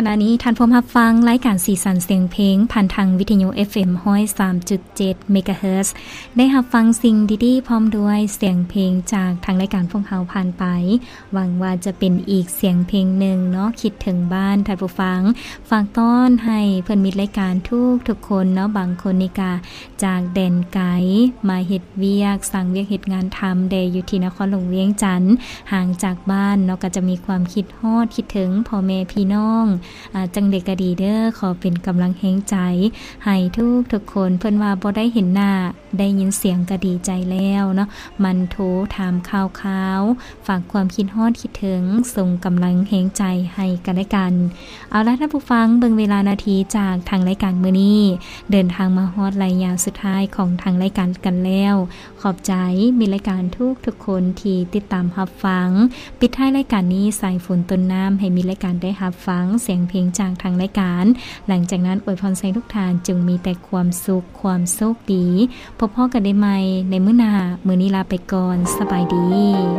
ຂະນະນີ້ທ່ານພວມຮັບຟັງລາຍການສີສັນສຽງເພງ ຜ່ານທາງວິທະຍຸ ເອັຟເອັມ ຮ້ອຍສາມຈຸດເຈັດ ເມກາເຮີດ. ໄດ້ຮັບຟັງສິ່ງດີໆ ພ້ອມດ້ວຍສຽງເພງຈາກທາງລາຍການພວກເຮົາຜ່ານໄປ. ຫວັງວ່າຈະເປັນອີກສຽງເພງໜຶ່ງເນາະ ຄິດເຖິງບ້ານທ່ານຜູ້ຟັງ. ຝາກຕ້ອນໃຫ້ເພື່ອນມິດລາຍການທຸກໆຄົນເນາະ, ບາງຄົນນີ້ກະຈາກແດນໄກມາເຮັດວຽກ, ສ້າງວຽກເຮັດງານທຳແດ່ຢູ່ທີ່ນະຄອນຫຼວງວຽງຈັນ, ຫ່າງຈາກບ້ານເນາະ, ກໍຈະມີຄວາມຄິດຮອດຄິດເຖິງພໍ່ແມ່ພີ່ນ້ອງ. ອາ, ຈັ່ງໃດກໍດີເດີ້, ຂໍເປັນກຳລັງແຮງໃຈໃຫ້ທຸກໆຄົນ. ເພິ່ນວ່າບໍ່ໄດ້ເຫັນໜ້າ, ໄດ້ຍິນສຽງກໍດີໃຈແລ້ວເນາະ, ໝັ່ນໂທຖາມຂ່າວຄາວ, ຝາກຄວາມຄິດຮອດຄິດເຖິງ, ສົ່ງກຳລັງແຮງໃຈໃຫ້ກັນແລະກັນ. ເອົາລະທ່ານຜູ້ຟັງ, ເບິ່ງເວລານາທີຈາກທາງລາຍການມື້ນີ້ ເດີນທາງມາຮອດໄລຍະສຸດທ້າຍຂອງທາງລາຍການກັນແລ້ວ. ຂອບໃຈມິດລາຍການທຸກໆຄົນທີ່ຕິດຕາມຮັບຟັງ. ປິດທ້າຍລາຍການນີ້, ສາຍຝົນຕົ້ນນ້ຳ ໃຫ້ມິດລາຍການໄດ້ຮັບຟັງສຽງເພງຈາກທາງລາຍການ. ຫຼັງຈາກນັ້ນ, ອວຍພອນໃຫ້ທຸກທ່ານຈົ່ງມີແຕ່ຄວາມສຸກ, ຄວາມໂຊກດີ. ພົບພໍ້ກັນໄດ້ໃໝ່ໃນມື້ໜ້າ. ມື້ນີ້ລາໄປກ່ອນ. ສະບາຍດີ.